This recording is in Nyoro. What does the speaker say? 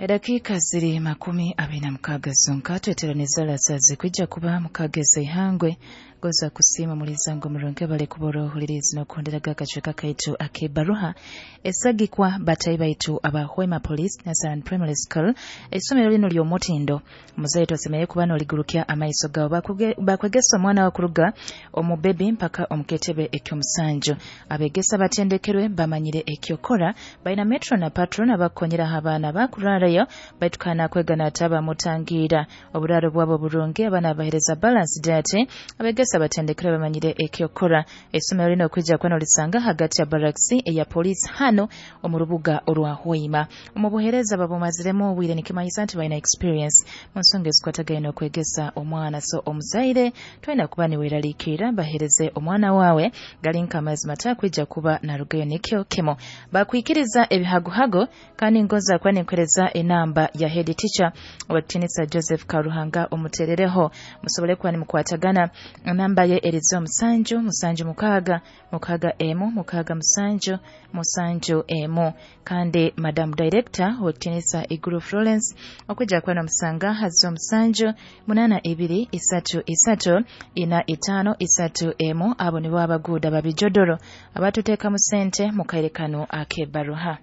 Edakika ziri 26 zonka tweteraniza lasazi kwijja kuba mukageza ihangwe goza kusiima mulizango murungi bali kubora ohulirizi n'okuhonderaga akacweka kaitu ak'ebaruha esagikwa batayi baitu aba Hoima Police Nazarene Primary School. Essomero lino ly'omutindo, muzaire tosemereire kuba n'oligurukya amaiso gawe. Bakwegesa omwana wakuruga omu bebi mpaka omu ketebe eky'omusanju. Abegesa batendekerwe, bamanyire ekyokora, baina metro na patron abakukonyeraho abaana bakurarayo baitu kana kwega n'ataba mutangira oburaro bwabo burungi. Abaana bahereza balance diet, abegesa batendekere bamanyire ekyokora. Essomero lino okwijja kuba nolisanga hagati ya barracks eya police hano omu rubuga orwa Hoima. Omu buhereza babumaziremu obwire, nikimanyisa nti balina experience mu nsonga ezikwatagaine n'okwegesa omwana. So omuzaire twina kuba niweraliikirira, bahereze omwana wawe gali nk'amazima mata kuba narugayo nikyo kimo bakwikiriza ebihagohago. Kandi ngoza kuba ninkuhereza enamba ya head teacher owekitinisa Joseph Karuhanga, omuterereho musobole kuba nimukwatagana. Namba ye erizo 7 7 6 6 1 6 7 7 1. Kandi madam director owekitinisa Iguru Florence, okwijja kuba nomusanga hazo 7 8 2 3 3 4 5 3 1. Abo nibo abaguuda babijodoro abatuteekamu sente mu kaire kano ak'ebbaruha.